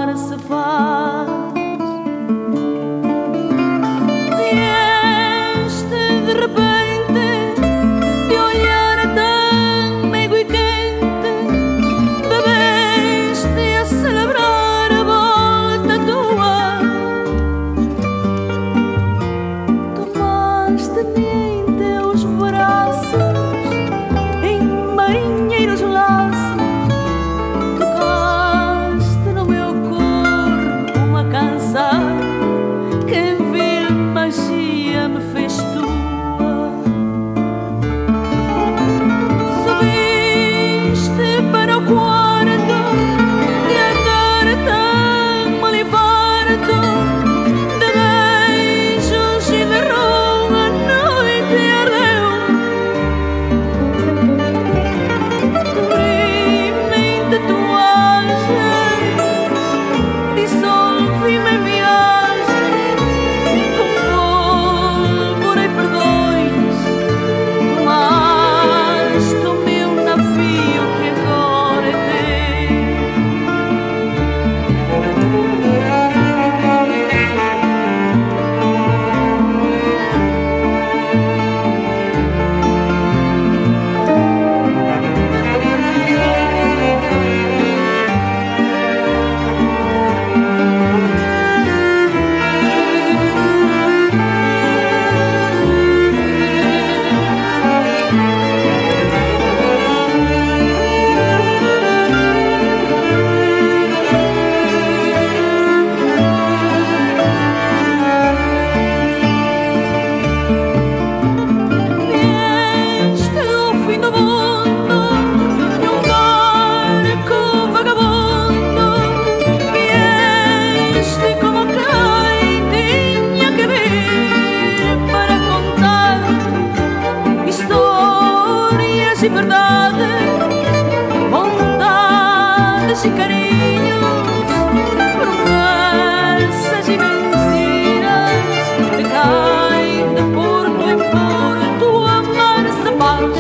mar se faz. Vieste de repente, de olhar tão meigo e quente, bebeste a celebrar a volta tua. Tomaste-me em teus braços, em marinheiros laços, tocaste no meu corpo uma canção que em vil magia me fez tua. Subiste para o quarto de andar tão alivarto, de beijos e de rum a noite ardeu. Cobri-me em tatuagens, dissolvi-me em viagem, com pólvora e perdões. Tomaste o meu navio que agora é Vieste do fim do mundo num barco vagabundo. Vieste como quem tinha que vir para contar histórias e verdades, bondades e carinhos, promessas e mentiras, de quem de porto em porto amar se faz.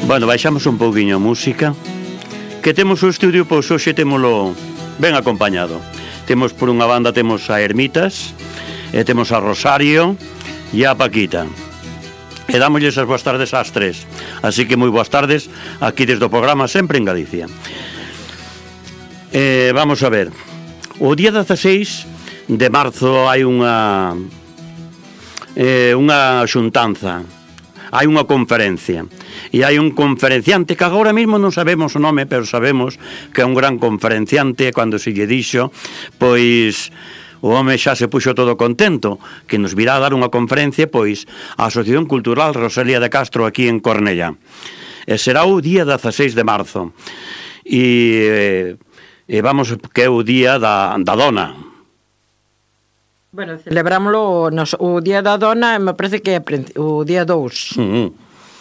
Bueno, baixamos un pouquiño a música, que temos o estudio, pois hoxe témolo ben acompañado. Temos por unha banda, temos a Ermitas, e temos a Rosario e a Paquita. E dámoslles as boas tardes ás tres. Así que moi boas tardes aquí desde o programa Sempre en Galicia. Vamos a ver. O día 16 de marzo hai unha xuntanza, hai unha conferencia, e hai un conferenciante que agora mesmo non sabemos o nome, pero sabemos que é un gran conferenciante. Cando se lle dixo, pois o home xa se puxo todo contento que nos virá a dar unha conferencia, pois a Asociación Cultural Rosalía de Castro aquí en Cornellá. E será o día 16 de marzo e vamos, que é o día da dona. Bueno, celebrámoslo o día da dona, me parece que é o día 2.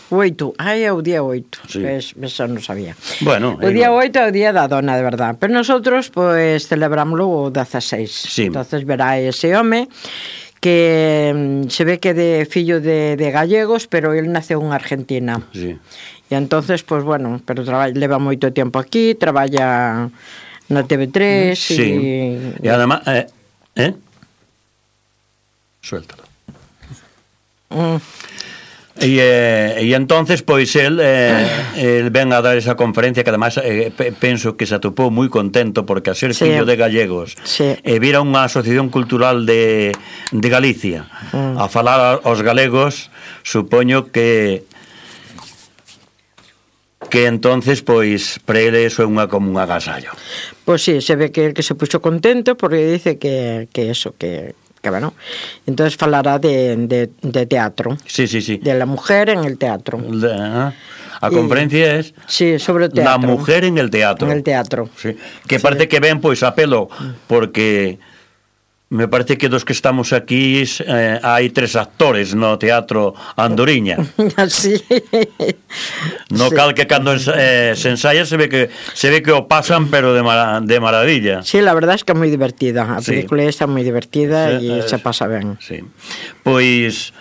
O 8, é o día 8, Sí. eso non sabía. Bueno, O día 8 é o día da dona, de verdad. Pero nosotros, pois, celebrámoslo o 16. Sí. Entonces verá ese home que se ve que de fillo de gallegos, pero él naceu en Argentina. Sí. E entonces, pois, bueno, pero leva moito tempo aquí, traballa na TV3 Sí. E además, suéltalo. E entonces pois el ven a dar esa conferencia que además penso que se atopou moi contento porque a ser fillo de gallegos e vira unha asociación cultural de Galicia a falar aos galegos, supoño que entonces pois para ele eso é como un agasallo. Pois sí, se ve que se puxo contento porque dice que eso, que bueno, entonces falará de teatro. Sí, sí, sí. De la mujer en el teatro. A conferencia es sí, sobre teatro. La mujer en el teatro. En el teatro. Sí. Que parece que ven pois a pelo porque me parece que dos que estamos aquí hai 3 actores no teatro Andoriña. Sí. No cal que cando se ensaya se ve que o pasan pero de maravilla. Sí, la verdad es que é moi divertida. A película está moi divertida e se pasa ben. Sí. Pois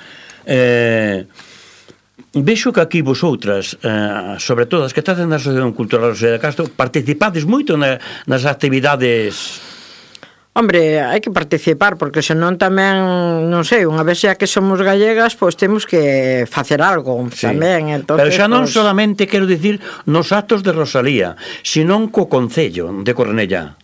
vexo que aquí vosotras, sobre todo as que estás na Asociación Cultural Rosalía de Castro, participades moito nas actividades. Hombre, hai que participar, porque senón tamén, non sei, unha vez xa que somos gallegas, pois temos que facer algo tamén. Entonces, pero xa non solamente, quero dicir, nos actos de Rosalía, senón co Concello de Cornellá.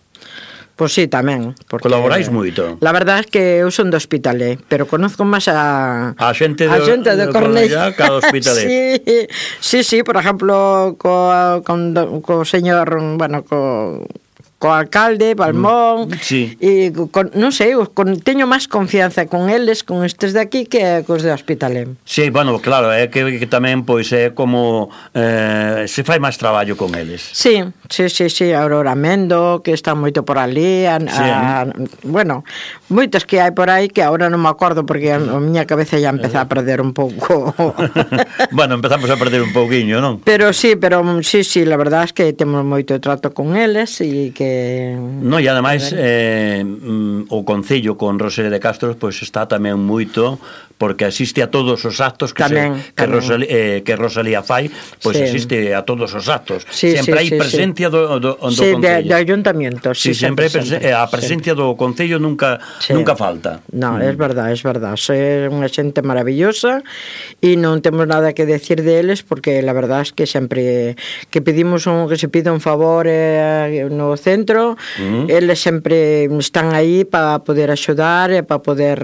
Pois sí, tamén. Colaboráis moito. La verdade é que eu son do Hospitalet, pero conozco máis a xente de Cornellá que a do Hospitalet. Sí, por exemplo, co señor, bueno, co alcalde, Balmón, e non sei, teño máis confianza con eles, con estes de aquí, que cos de Hospitalet. Sí, bueno, claro, é que tamén pois é como se fai máis traballo con eles. Sí, Aurora Mendo, que está moito por ali, bueno, moitas que hai por aí que agora non me acordo porque a miña cabeza ya empeza a perder un pouco. Bueno, empezamos a perder un pouquiño, non? Pero sí, la verdade é que temos moito trato con eles e que no, e ademais o Concello con Rosalía de Castro pois está tamén moito porque asiste a todos os actos que Rosalía fai, pois asiste a todos os actos. Sempre hai presencia do Concello. De ayuntamiento. Sempre a presencia do Concello nunca falta. No, é verdade. É unha xente maravillosa e non temos nada que decir deles porque la verdade é que sempre que pedimos que se pida un favor no centro, eles sempre están aí para poder axudar e para poder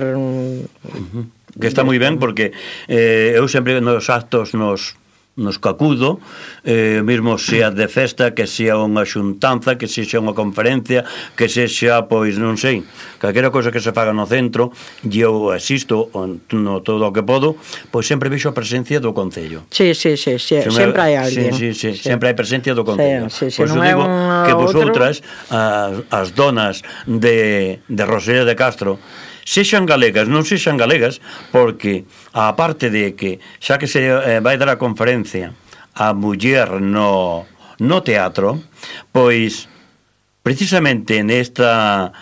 que está moi ben porque eu sempre nos actos nos cacudo, mesmo sea de festa, que sea unha xuntanza, que sexa unha conferencia, que sexa, pois, non sei, calquera cosa que se faga no centro, e eu asisto no todo o que podo, pois sempre vexo a presencia do Concello. Sí, sempre hai alguén. Sí, sempre hai presencia do Concello. Por iso digo que vosotras, as donas de Rosalía de Castro, sexan galegas, non sexan galegas, porque a parte de que xa que se vai dar a conferencia a muller no teatro, pois precisamente nesta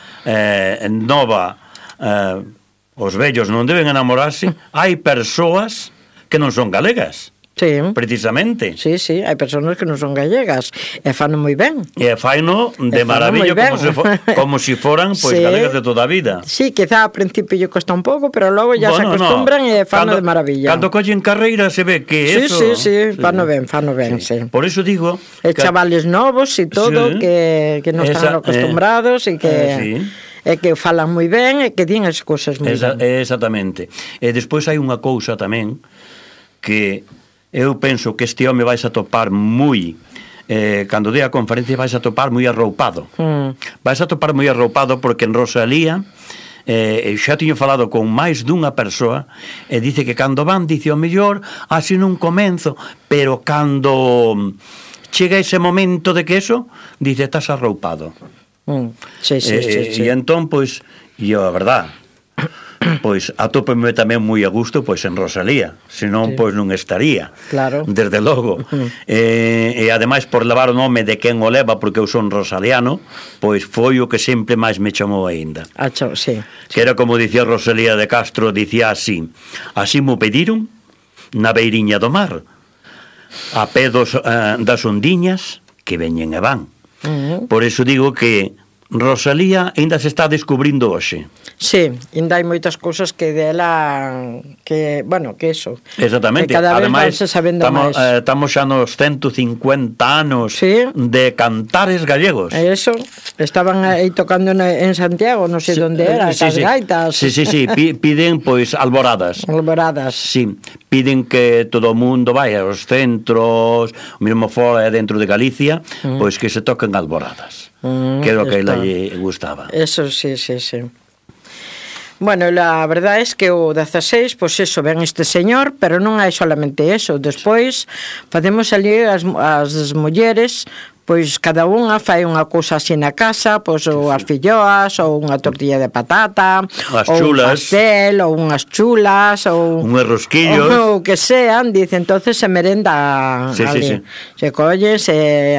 nova os vellos non deben enamorarse, hai persoas que non son galegas. Sí. Precisamente. Sí, hai persoas que non son gallegas e fano moi ben. E fano de maravilla como si foran pois galegas de toda a vida. Sí, quizá ao principio lle costa un pouco, pero logo ya se acostumbran e fano de maravilla. Cando collen carreira se ve que eso. Sí, fano ben, sí. Por eso digo, chavales novos e todo que non están acostumbrados e que e que falan moi ben e que din as cousas moi ben. Exactamente. E despois hai unha cousa tamén que eu penso que este home vais a topar moi cando dé a conferencia vais a topar moi arroupado. Vais a topar moi arroupado porque en Rosalía xa tiño falado con máis dunha persoa e dice que cando van, dice o mellor así non comenzo, pero cando chega ese momento de que eso, dice estás arroupado. Sí. E entón, pois, e a verdad, pois atópome tamén moi a gusto pois en Rosalía, senón Sí. pois non estaría. Claro. Desde logo. E ademais por levar o nome de quen o leva, porque eu son rosaliano, pois foi o que sempre máis me chamou aínda. Sí. Que era como dicía Rosalía de Castro, dicía así: así mo pediron na beiriña do mar, a pé das ondiñas que veñen e van. Por eso digo que Rosalía ainda se está descubrindo hoxe. Sí, ainda hai moitas cousas que dela que, bueno, que eso. Exactamente. Que cada vez Ademais, vanse sabendo máis. estamos xa nos 150 anos Sí. de cantares gallegos. Eso, estaban aí tocando en Santiago, non sei onde era, Sí, cas sí. gaitas. Sí, piden pois alboradas. Alboradas. Sí, piden que todo o mundo vai aos centros, mesmo fora e dentro de Galicia, pois que se toquen alboradas. Que era o que a ela lle gustaba. Eso, sí. Bueno, la verdad es que o 16, pois eso, ven este señor, pero non hai solamente eso. Despois, facemos ali as mulleres, pois cada unha fai unha cousa así na casa, pois ou as filloas, ou unha tortilla de patata, As ou un chulas. pastel, ou unhas chulas, ou Unhos rosquillos. o que sean, dice, entonces se merenda Sí, ali. sí. Se colle,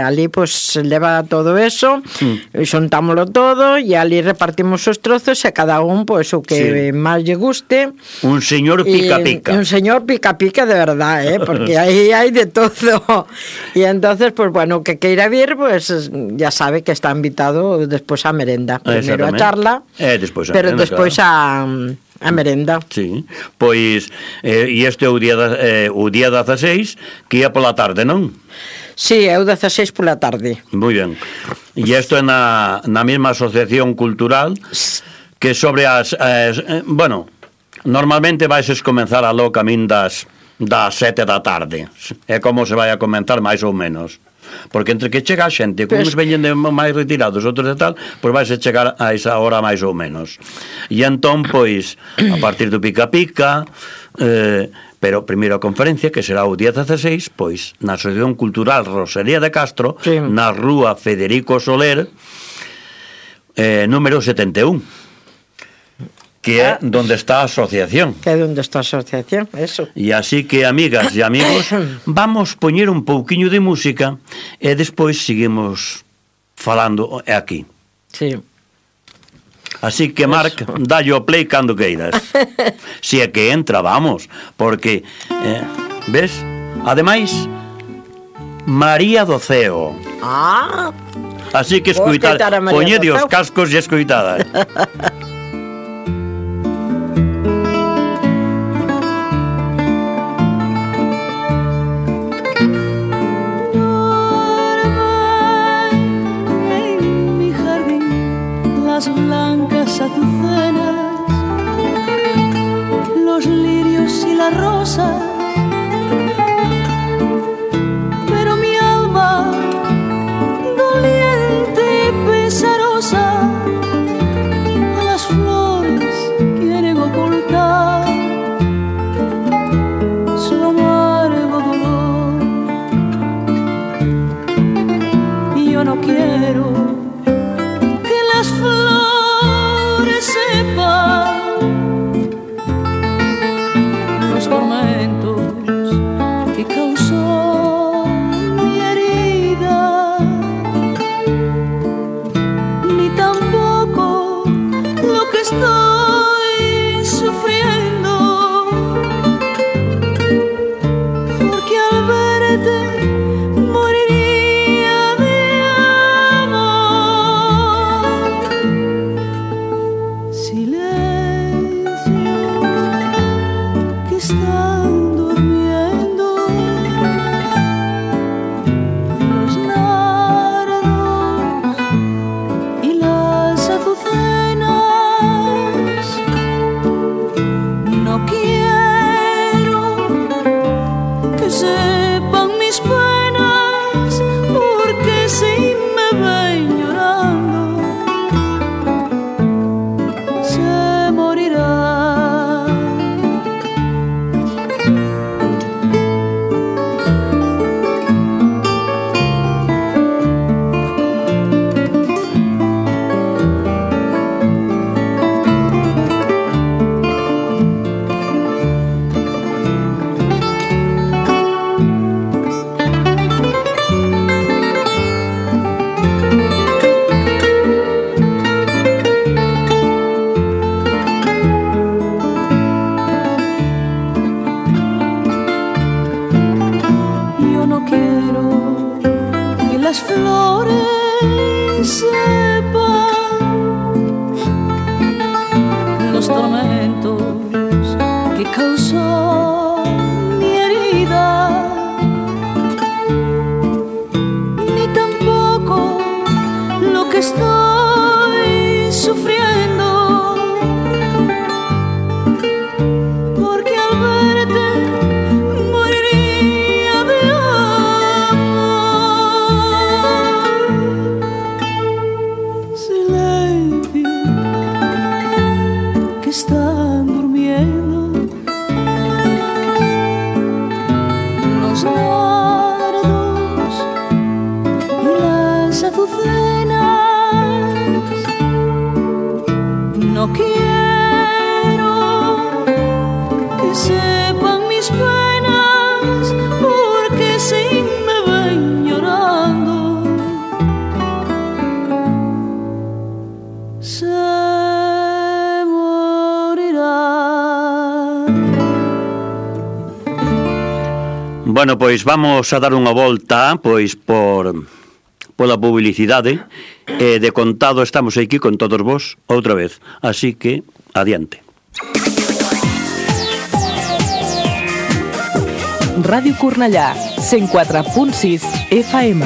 ali pois se leva todo eso, xontámoslo todo e ali repartimos os trozos e cada un pois o que máis lle guste. Un señor pica-pica. Un señor pica-pica de verdad, porque aí hai de todo. E entonces, pues bueno, que queira vir, pues ya sabe que está invitado despois á merenda. Primeiro a charla, despois a pero merenda, despois claro. a merenda. Sí, pois e este é o día 16 que ia pola tarde, non? Sí, é o 16 pola tarde. Moi ben. E isto é na mesma asociación cultural que sobre bueno, normalmente vais comenzar a lo camín das 7 da tarde. É como se vai a comenzar máis ou menos. Porque entre que chega a xente, como uns veñen de máis retirados, outros de tal, pois vais a chegar a esa hora máis ou menos. E entón, pois, a partir do pica-pica, pero primeiro a conferencia, que será o día 16, pois, na Asociación Cultural Rosalía de Castro, sí, na rúa Federico Soler, número 71. Que é donde está a asociación. Que é donde está a asociación, eso. E así que, amigas e amigos, vamos poñer un pouquiño de música e despois seguimos falando aquí. Sí. Así que, Marc, dalle o play cando queiras. Si é que entra, vamos, porque, ves? Ademais, María do Ceo. Ah, así que escoitad, poñede os cascos e escoitad. Blancas azucenas, los lirios y las rosas, pero mi alma doliente y pesarosa a las flores quieren ocultar su amargo dolor. Y yo no quiero que las flores sepan los tormentos quiero que las flores sepan los tormentos que causó mi herida, ni tampoco lo que estoy sufriendo, porque al verte moriría de amor. Silencio, que están durmiendo los nardos y las azucenas. No quiero que sepan mis penas, porque si me ven llorando se morirán. Bueno, pois vamos a dar unha volta pois pola publicidade, e de contado estamos aquí con todos vos outra vez, así que adiante. Ràdio Cornellà, 104.6 FM.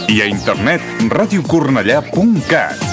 I a internet radiocornellà.cat.